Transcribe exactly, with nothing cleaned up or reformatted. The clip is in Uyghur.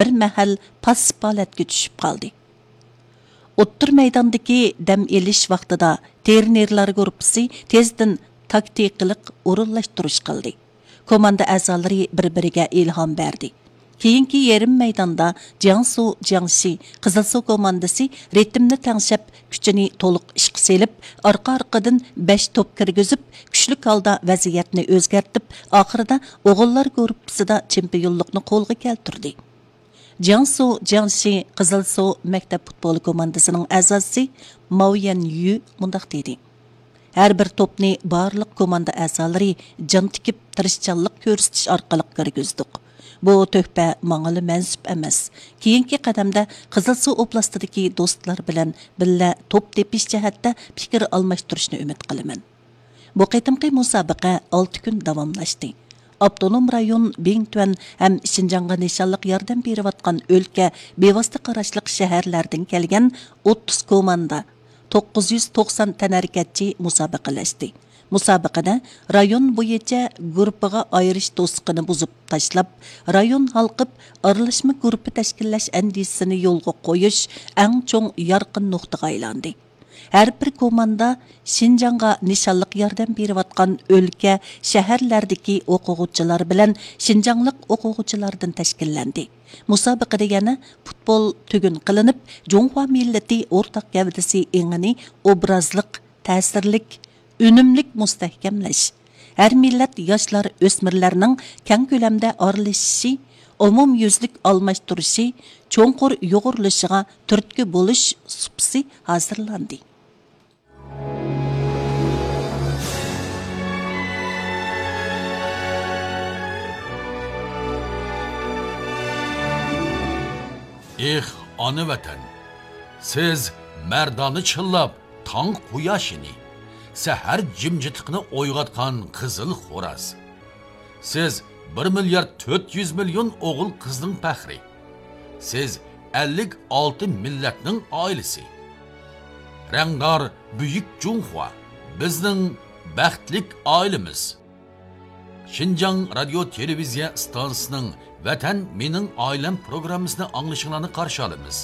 بىر مەھەل پاسسىپ ھالەتكە چۈشۈپ قالدى. ئوتتۇرا مەيداندىكى دەم ئېلىش ۋاقتىدا ترېنېرلار گۇرۇپپىسى تېزدىن تاكتىكىلىق ئورۇنلاشتۇرۇش قىلدى. كوماندا ئەزالىرى بىر-بىرىگە ئىلھام بەردى. كېيىنكى يېرىم مەيداندا جياڭسۇ جياڭشى قىزىلسۇ كوماندىسى رىتىمنى تەڭشەپ، كۈچىنى تولۇق ئىشقا سېلىپ، ئارقا-ئارقىدىن بەش توپ كىرگۈزۈپ، كۈچلۈك ھالدا ۋەزىيەتنى ئۆزگەرتىپ، ئاخىرىدا ئوغۇللار گۇرۇپپىسىدا چېمپىيونلۇقنى قولغا كەلتۈردى. جياڭسۇ جياڭشى قىزىلسۇ مەكتەپ پۇتبول كوماندىسىنىڭ ئەزاسى ماۋ يەن يۈ مۇنداق دېدى: ھەر بىر توپنى بارلىق كوماندا ئەزالىرى جان تىكىپ، تىرىشچانلىق كۆرسىتىش ئارقىلىق كىرگۈزدۇق. بۇ تۆھپە ماڭىلا مەنسۇپ ئەمەس. كېيىنكى قەدەمدە قىزىلسۇ ئوبلاستىدىكى دوستلار بىلەن بىللە توپ تېپىش جەھەتتە پىكىر ئالماشتۇرۇشنى ئۈمىد قىلىمەن. بۇ قېتىمقى مۇسابىقە ئالتە كۈن داۋاملاشتى. ئاپتونوم رايون بىڭتۈەن ھەم شىنجاڭغا نىشانلىق ياردەم بېرىۋاتقان ئۆلكە، بىۋاسىتە قاراشلىق شەھەرلەردىن كەلگەن ئوتتۇز كوماندا، توققۇز يۈز توقسان تەنھەرىكەتچى مۇسابىقىلەشتى. مۇسابىقىدە رايون بويىچە گۇرۇپپىغا ئايرىش توسۇقىنى بۇزۇپ تاشلاپ، رايون ھالقىپ ئارىلاشما گۇرۇپپا تەشكىللەش ئەندىزىسىنى يولغا قويۇش ئەڭ چوڭ يارقىن نۇقتىغا ئايلاندى. ھەر بىر كوماندا شىنجاڭغا نىشانلىق ياردەم بېرىۋاتقان ئۆلكە، شەھەرلەردىكى ئوقۇغۇچىلار بىلەن شىنجاڭلىق ئوقۇغۇچىلاردىن تەشكىللەندى. مۇسابىقىدە يەنە پۇتبول تۈگۈن قىلىنىپ، جۇڭخۇا مىللىتى ئورتاق گەۋدىسى ئېڭىنى ئوبرازلىق، تەسىرلىك، ئۈنۈملۈك مۇستەھكەملەش، ھەر مىللەت ياشلار، ئۆسمۈرلەرنىڭ كەڭ كۆلەمدە ئارىلىشىشى، ئومۇميۈزلۈك ئالماشتۇرۇشى، چوڭقۇر يۇغۇرۇلۇشىغا تۈرتكە بولۇش سۇپىسى ھازىرلاندى. ئېھ، ئانا ۋەتەن! سىز مەردانە چىللاپ، تاڭ قۇياشىنى، سەھەر جىمجىتلىقىنى ئويغاتقان قىزىل خوراز. سىز بىر مىليارد تۆت يۈز مىليون ئوغۇل-قىزنىڭ پەخرى. سىز ئەللىك ئالتە مىللەتنىڭ ئائىلىسى. رەڭدار بۈيۈك جۇڭخۇا، بىزنىڭ بەختلىك ئائىلىمىز. شىنجاڭ رادىيو تېلېۋىزىيە ئىستانسىسىنىڭ ۋەتەن مېنىڭ ئائىلەم پروگراممىسىنى ئاڭلىشىڭلارنى قارشى ئالىمىز.